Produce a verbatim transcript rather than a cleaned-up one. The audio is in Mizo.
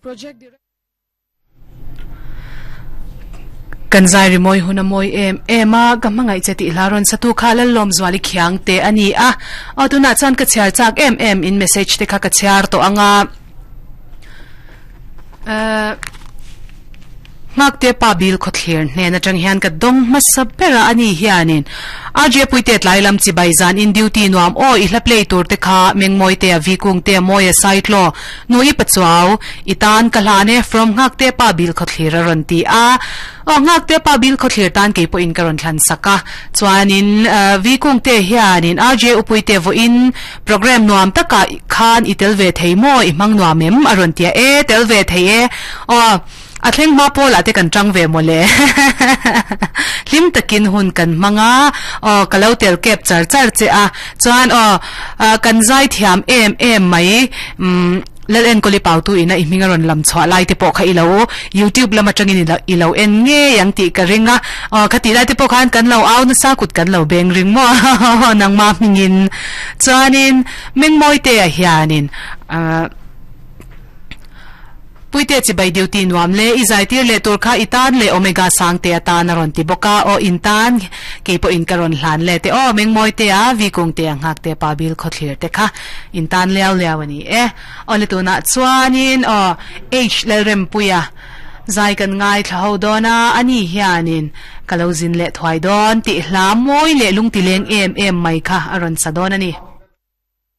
Project Kan zai ri moi huna moi em ema ka mangai che ti hlaron satu kha lal lom zwali khiang te ani a o tuna chan ka chhiar chak em em in message te kha ka chhiar to anga eh ngak te pa bil kho thlir hne na tang hian ka dong ma sapera ani hianin A J puite tlailam chi baizan in duty nuam o i hla play tur te kha mengmoi te a vikung te moi a site lo nui pachuaw itan ka hlane from ngak te pa bil kho thlir ron ti a o ngak te pa bil kho thlir tan ke po in karon thlan saka chuanin vikung te hianin A J upuite vo in program nuam taka khan itel ve theimo i mang nuam em aron tia e tel ve thei e o a thleng ma pawla te kan tang ve mole hlim takin hun kan manga o kalau tel kep char char che a chuan o kan zai thiam em em mai um lal en koli pau tu ina i minga ron lam chwa lai te po kha ilo YouTube lama tangin ilo ilo en nge yang ti ka ringa o khati lai te po khan kan lo au na sa kut kan lo beng ring mo nang ma mingin chuanin mengmoi te a hianin a puite chi bai duty nuam le i zai tir le tur kha itan le omega sang te atan aron ti boka o intan ke po in karon hlan le te o mengmoi te a vi kong te ang hak te pa bil kho thlir te kha intan lew lew ani e o le tu na chuanin o h lalrem puya zai kan ngai thlo dona ani hianin kalozin le thwai don ti hla moi le lung ti leng em em mai kha aron sadon ani.